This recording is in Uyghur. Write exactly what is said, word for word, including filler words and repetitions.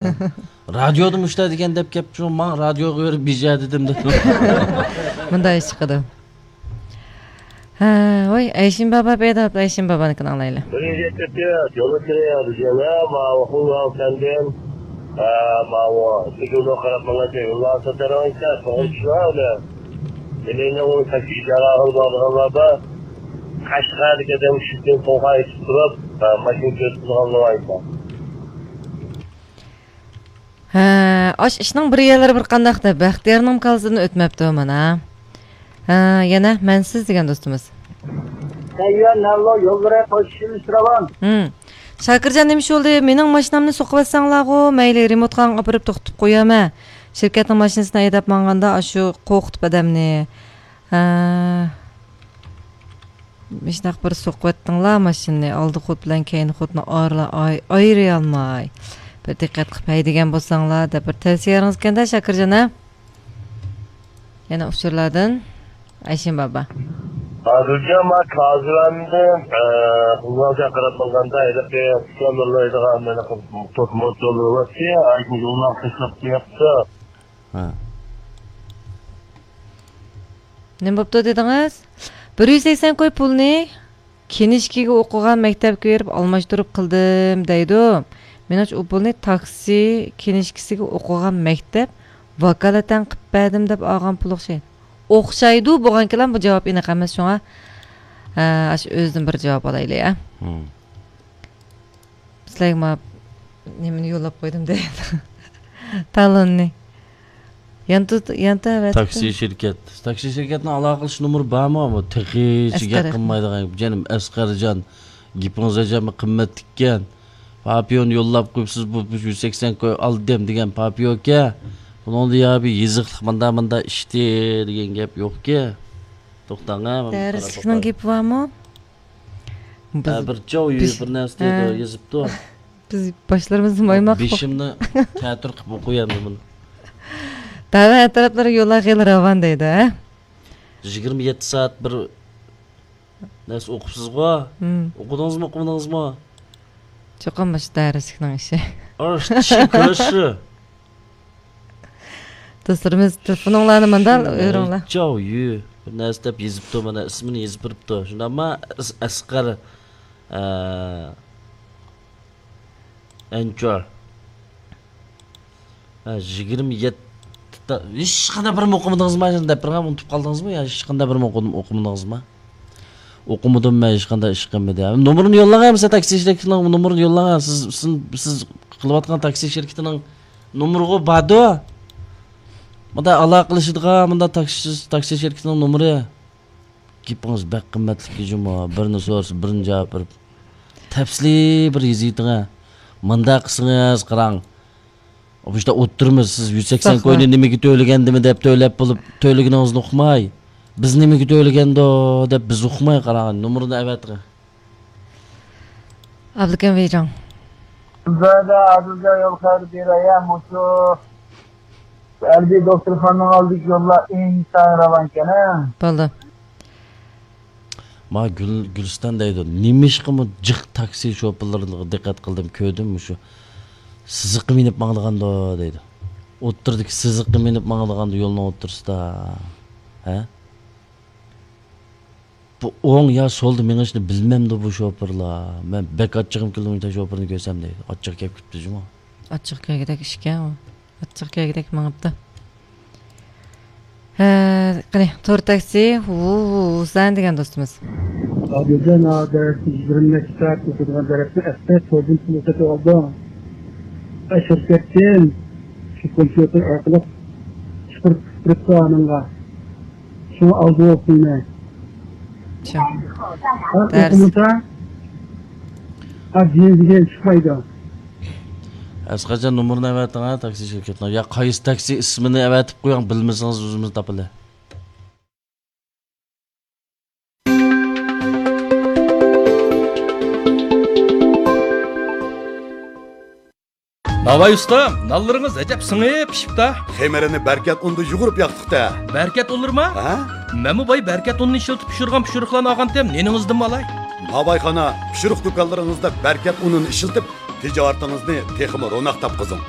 رادىيودا مۇشۇنداق دېگەن دەپ كەپتۇ، ماڭا رادىيوغا بېرىپ بېجە دېدىم دەپ. مۇنداق ئىش چىقىدۇ. ھە، ۋاي، ئەيشىم بابا پەيدا بوپتۇ، ئەيشىم بابانىڭكىنى ئاڭلايلى. بىرىنچى يەتتە يول كىرىيە بىزگە، ماۋۇ خۇڭگاۋ سەندىن، ئە، ماۋۇ سىگۇلنو قاراپ ماڭغانچە يوللار ساتارىڭ ئىكەن، توغرا چۈشىنىۋالدى. مېنىڭ ئۇ تاكسى ئىجارە ئالغىلى بارىدىغانلار بار. قەشقەردىكى ئادەم شۇ كۈن توغرا ئېيتىپ تۇرۇپ، ئە، ماشىنا كۆرسىتىدىغانلار بار. ھە، ئاش ئىشنىڭ بىر يەرلىرى بىر قانداق دەپ، بەختىيارنىڭ كاللىسىدىن ئۆتمەپتۇ مانا. ھە، يەنە مەنسىز دېگەن دوستىمىز. تەييار نەللو يوللىرى قوشۇشىمىز راۋان. ھىم. شاكىرجان، نېمە ئىش بولدى؟ مېنىڭ ماشىنامنى سوقۇۋەتسەڭلارغۇ، مەيلى، رېمونتخانىغا ئاپىرىپ توختىتىپ قويامەن. شىركەتنىڭ ماشىنىسىنى ھەيدەپ ماڭغاندا ئاشۇ قورقۇتۇپ ئادەمنى. ھە. مۇشۇنداق بىر سوقۇۋەتتىڭلار ماشىنىنى، ئالدى خۇد بىلەن كەينى خۇدنى ئارىلا-، ئاي-، ئايرىيالماي. بىر دىققەت قىلىپ ھەيدىگەن بولساڭلار دەپ بىر تەۋسىيەڭىز ئىكەندە، شاكىرجان ھە؟ يەنە ئۇچۇرلاردىن ئەيشىم بابا. ھازىرچە ما كازىلاندىن، ئە، خۇڭگاۋغا قاراپ ماڭغاندا ھېلىقى ئۇكام يوللايدىغان مانا توت موت يوللىرى بار، ئايدىن يوللار تاشلاپ قويۇپتۇ. ھە. نېمە بوپتۇ دېدىڭىز؟ بىر يۈز سەكسەن كوي پۇلنى كىنىشكىگە ئوقۇغان مەكتەپكە بېرىپ ئالماشتۇرۇپ قىلدىم دەيدۇ. مېنىڭچە ئۇ پۇلنى تاكسى كىنىشكىسىگە ئوقۇغان مەكتەپ ۋاكالىتەن قىلىپ بەردىم دەپ ئالغان پۇل ئوخشايدۇ. ئوخشايدۇ بولغانكىلا بۇ جاۋاب ئېنىق ئەمەس شۇڭا، ئە، ئاشۇ ئۆزىدىن بىر جاۋاب ئالايلى، ئە. ھىم. سىلەرگە ما نېمىنى يوللاپ قويدۇم دەيدۇ. تالوننى. يانتۇ-، يانتا ئەۋەتىپتۇ. تاكسى شىركەت. تاكسى شىركەتنىڭ ئالاقىلىشىش نومۇرى بارمۇ؟ بۇ تېخىچە گەپ قىلمايدىغان. جېنىم ئەسقەرجان، گېپىڭىز ئەجەبمۇ قىممەتلىككەن. پاپىيونى يوللاپ قويۇپسىز، بۇ، بۇ يۈز سەكسەن كوي ئالدىم دېگەن پاپىيونكەن. بۇنىڭدا يا بىر يېزىقلىق ماندا، ماندا ئىشتى دېگەن گەپ يوقكەن. توختاڭ ھە. دەرسلىكنىڭ گېپى بارمۇ؟ ھە، بىز، بىر چاۋ يۇ، بىز، بىر نەرسە دەيدۇ، ھە. يېزىپتۇ. بىز باشلىرىمىزنى مايماق قىلىپ بېشىمنى تەتۈر قىلىپ ئوقۇيمەن بۇنى. دەۋە ئەتراپلىرى يوللار خېلى راۋان دەيدۇ، ھە؟ يىگىرمە يەتتە سائەت بىر نەرسە ئوقۇپسىزغۇ؟ ھىم. ئوقۇدىڭىزمۇ، ئوقۇمىدىڭىزمۇ؟ چوقۇم مۇشۇ دەرسلىكنىڭ ئىشى. ئاشتىشى كۆشى. دوستلىرىمىز، تېلېفونۇڭلارنى ماندال ئۆرۈڭلار. چاۋ يۈ. بىر نەرسە دەپ يېزىپتۇ، مانا ئىسمىنى يېزىپ بېرىپتۇ. شۇنداقما ئەس-، ئەسقەر، ئە، ئەنچور. ھە، يىگىرمە يەتتە تا-، ھېچقانداق بىرىنى ئوقۇمىدىڭىزما؟ شۇنى دەپ بېرىڭ، ئۇنتۇپ قالدىڭىزمۇ يا ھېچقانداق بىرىنى ئوقۇدۇم-، ئوقۇمىدىڭىزما؟ ئوقۇمىدىم مەن، ھېچقانداق ئىش قىلمىدى. نومۇرىنى يوللاڭ، مېسە تاكسى شىركىتىنىڭ نومۇرىنى يوللاڭ. سىز، سىز، سىز قىلىۋاتقان تاكسى شىركىتىنىڭ نومۇرىغۇ باردۇ. مۇندا ئالاقىلىشىدىغان، مۇندا تاكسى، تاكسى شىركىتىنىڭ نومۇرى. گېپىڭىز بەك قىممەتلىك جۇمۇ. بىرنى سورىسا، بىرنى جاۋاب بېرىپ. تەپسىلىي بىر يېزىۋېتىڭە. مۇنداق قىلسىڭىز، قاراڭ. بۇ يەردە ئولتۇرىمىز، سىز يۈز سەكسەن كوينى نېمىگە تۆلىگەندىمۇ دەپ تۆلەپ بولۇپ، تۆلىگىنىڭىزنى ئۇقماي، بىز نېمىگە تۆلىگەندۇ دەپ بىز ئۇقماي، قاراڭ، نومۇرنى ئەۋەتىڭ. ئابلىكىم ۋېيجاڭ. زادا ئادىلجان يول خەۋىرى بېرەي، مۇشۇ ھەربىي دوختۇرخانىنىڭ ئالدىدىكى يوللار ئىنتايىن راۋانكەن، ھە؟ بولدى. ما گۈل-، گۈلىستان دەيدۇ، نېمىشقىمۇ جىق تاكسى شوپۇرلىرىغا دىققەت قىلدىم، كۆردۈم، مۇشۇ سىزىققا مىنىپ ماڭىدىغاندۇ دەيدۇ. ئوتتۇرىدىكى سىزىققا مىنىپ ماڭىدىغاندۇ يولنىڭ ئوتتۇرىسىدا. ھە؟ بۇ ئوڭ يا سولدا مېڭىشنى بىلمەمدۇ بۇ شوپۇرلار؟ مەن بەك ئاچچىقىم كېلىدۇ مۇشۇنداق شوپۇرنى كۆرسەم دەيدۇ. ئاچچىقى كەپ كېتىپتۇ جۇمۇ. ئاچچىقى كەلگۈدەك ئىشكەن ئۇ. ئاچچىقى كەلگۈدەك مېڭىپتۇ. ھە، قېنى، تور تاكسى، ۋۇ، ۋۇ، ۋۇسەن دېگەن دوستىمىز. ئادىلجان، ھازىر يىگىرمە نەچچە سائەت ئۆتىدىغان دەرسنى ئەسلى توردىن پۇل سېتىۋالدىڭ. شىركەتتىن شۇ كومپيۇتېر ئارقىلىق چىقىرىپ كىرىپتۇ ئانىڭغا. شۇڭا ئالدى بولسۇن. چىڭ. ھە، دەرس. ئوقۇمىسا، ھە، دېگەن دېگەن چىقمايدۇ. ئەسقەرجان، نومۇرنى ئەۋەتىڭ ھە، تاكسى شىركىتىنىڭ. يا قايسى تاكسى ئىسمىنى ئەۋەتىپ قويۇڭ، بىلمىسىڭىز ئۆزىمىز تاپىلى. ناۋاي ئۇستام، نانلىرىڭىز ئەجەب سىڭىپ پىشىپتا. خېمىرىنى بەركەت ئۇندا يۇغۇرۇپ ياقتۇق-تە. بەركەت ئۇنلىرىما؟ ھە؟ مەنمۇ باي بەركەت ئۇنىنى ئىشلىتىپ پىشۇرغان پىشۇرۇقلارنى ئالغانتىم، نېنىڭىزدىنمۇ ئالاي. ناۋايخانا، پىشۇرۇق دۇكانلىرىڭىزدا بەركەت ئۇنىنى ئىشلىتىپ، تىجارىتىڭىزنى تېخىمۇ روناق تاپقۇزۇڭ.